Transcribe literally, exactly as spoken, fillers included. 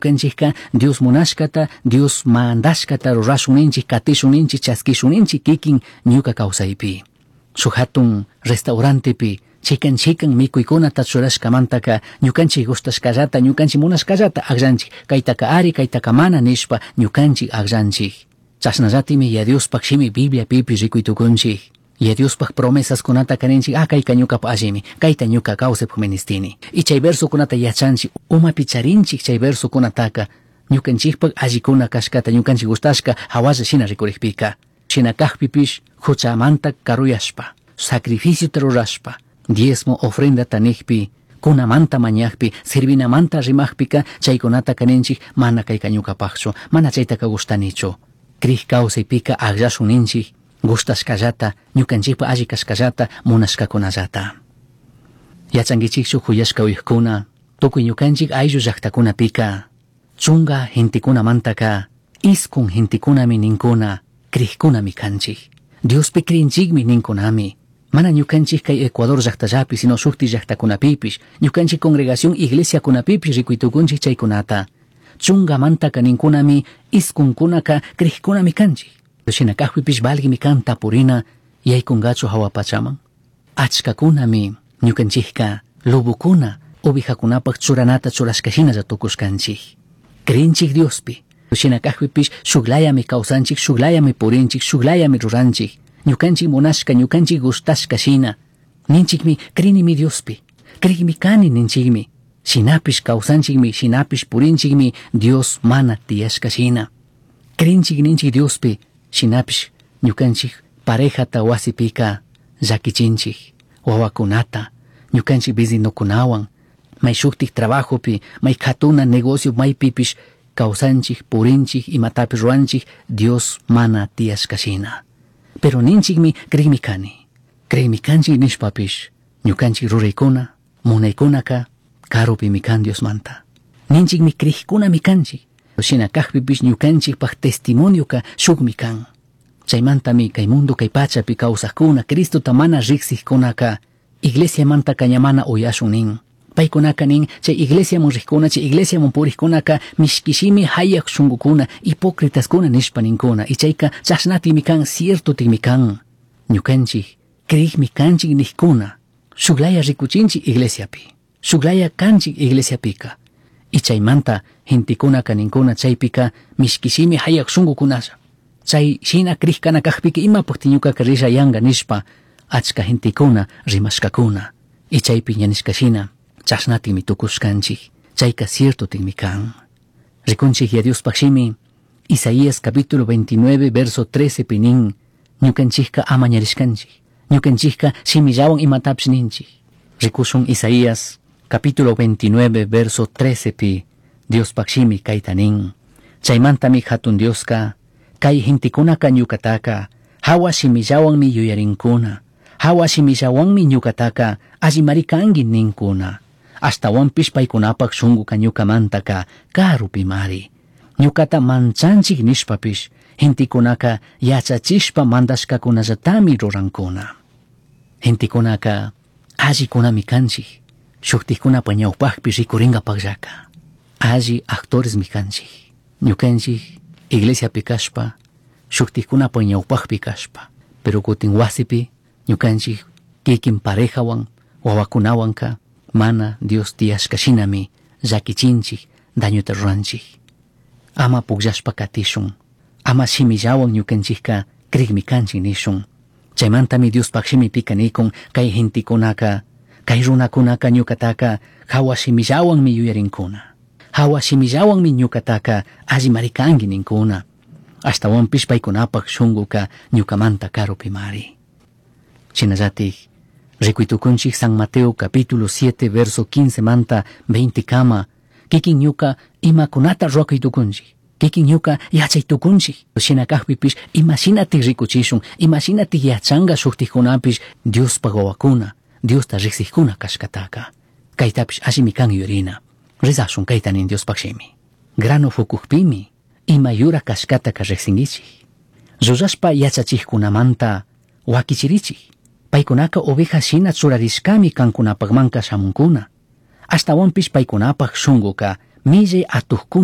Ñukanchikka Dios munashkata, Dios mandashkata rurashun ninchik, katishun ninchik, chaskishun ninchik kikin ñuka kawsaypi. Shuk hatun restaurantepi chikan chikan mikuykunata churashkamantaka ñukanchik gustashkallata, ñukanchik munashkallata akllanchik, kaytaka ari, kaytaka mana nishpa ñukanchik akllanchik. Chashnallatimi Yaya Diospaj shimi Bibliapipish rikuy tukunchik. Yaya Diospaj promesaskunata ninchik, ah kayka ñukapa allimi, kayta ñuka kawsaypaj ministini. Y chay versokunata yachanchik, umapi charinchik chay versokunataka ñukanchikpak allikuna kashkata, ñukanchik gustashka hawalla shina rikurikpika. Shina kajpipish huchamanta karuyashpa, sacrificiota rurashpa, diezmo ofrendata nijpi, kunamanta mañajpi, servinamanta rimajpika chaykunataka ninchik mana kayka ñukapajchu, mana chaytaka gustanichu. Krij kawsaypika akllashun ninchik, gustashkallata, ñukanchikpa alli kashkallata, munashkakunallata. Yachankichikchu huyashka uyajkuna, tukuy ñukanchik ayllu llaktakunapika, chunga gentekunamantaka, iskun gentekunami ninkuna, krijkunami kanchik. Diospi krinchikmi ninkunami. Mana ñukanchik kay Ecuador llaktallapi, sino shukti llaktakunapipish, ñukanchik congregación iglesiakunapipish rikuytukunchik chaykunata. Chungamantaka ninkunami, iskunkunaka krijkunami kanchik. Shina kajpipish valgimi kan tapurina yaykungachu hawa pachaman. Achkakunami ñukanchikka lobokuna ovejakunapaj churanata churashka shinalla tukushkanchik. Krinchik Diospi. Shina kajpipish shuklayami kawsanchik, shuklayami purinchik, shuklayami ruranchik. Ñukanchik munashka, ñukanchik gustashka shina. Ninchikmi krinimi Diospi. Krikmi kani ninchikmi. Shinapish kawsanchikmi, shinapish purinchikmi Dios mana tiyashka shina. Krinchik ninchik Diospi, shinapish ñukanchik parejata wasipika llakichinchik, wawakunata, ñukanchik vecinokunawan, may shuktik trabajopi, may katuna negocio maypipish kawsanchik, purinchik, imatapish ruranchik, Dios mana tiyashka shina. Pero ninchikmi krikmi kani. Krikmi kanchik nishpapish, ñukanchik ruraykuna, munaykunaka karupimi kan Diosmanta. Ninchikmi krikkunami kanchik. Shina kajpipish ñukanchikpaj testimonioka shukmi kan. Chaymantami kay mundo kay pachapi kawsajkuna, Cristota mana riksijkunaka, iglesiamantaka ña mana uyashun nin. Paykunaka nin, chay iglesiaman rijkuna, chay iglesiaman purijkunaka, mishkishimi hayak shungukuna, hipócritaskuna nishpa ninkuna. Y chayka chashnatimi kan, ciertotimi kan. Ñukanchik, krikmi kanchik nijkuna, shuklaya rikuchinchik iglesiapi, shuklaya kanchik iglesiapika. Y chaymanta gentekunaka ninkuna chaypika mishkishimi hayak shungukunalla. Chay shina krikana kajpika imapukti ñukaka risha yanga nishpa achka gentekuna rimashkakuna. Y chaypi ña nishka shina chashnatimi tukushkanchik, chayka ciertotimi kan. Rikunchik ya Diospaj shimi, Isaías capítulo veintinueve verso trece pi nin, ñukanchikka amañarishkanchik, ñukanchikka shimillawan imatapish ninchik. Rikushun Isaías capítulo veintinueve verso trece pi, Diospaj shimi kayta nin, chaymantami hatun Dioska, kay gentekunaka ñukataka, hawa shimillawanmi yuyarinkuna, hawa shimillawanmi ñukataka, allimari kanki ninkuna. Ashtawanpish paykunapak shunkuka ñukamantaka karupimari. Ñukata manchanchik nishpapish, gentekunaka yachachishpa mandashkakunallatami rurankuna. Gentekunaka allikunami kanchik, shuktikkunapa ñawpakpi rikuringapakllaka. Alli actoresmi kanchik. Ñukanchik iglesiapi kashpa, shuktikkunapa ñawpakpi kashpa, pero kutin wasipi ñukanchik kikin parejawan, wawakunawanka mana Dios tiyashka shinami llakichinchik, dañuta ruranchik. Ama pukllashpa katishun, ama shimillawan ñukanchikka krikmi kanchik nishun. Chaymantami Diospaj shimipika nikun kay gentekunaka, kay runakunaka ñukataka hawa shimillawanmi yuyarinkuna. Hawa shimillawanmi ñukataka allimari kanki ninkuna. Ashtawanpish paykunapak shunkuka ñukamanta karupimari. Shinallatik, rikuytukunchik San Mateo capítulo siete verso quince manta veinte kama, kikin ñuka imakunata ruwakuytukunchik, kikin ñuka yachaytukunchik. Shina kajpipish imashinatik rikuchishun, imashinatik yachanka shuktikkunapish Diospaj wawakuna, Diosta riksikkuna kashkataka. Kaytapish allimi kan yuyarina. Rezashun kayta nin Diospaj shimi. Grano fukukpimi ima yura kashkataka riksinkichik. Llullashpa yachachikkunamanta wakichirichik. Paykunaka oveja shina churarishkami kankunapakmanka shamunkuna. Ashtawanpish paykunapak shunkuka millay atukkuna.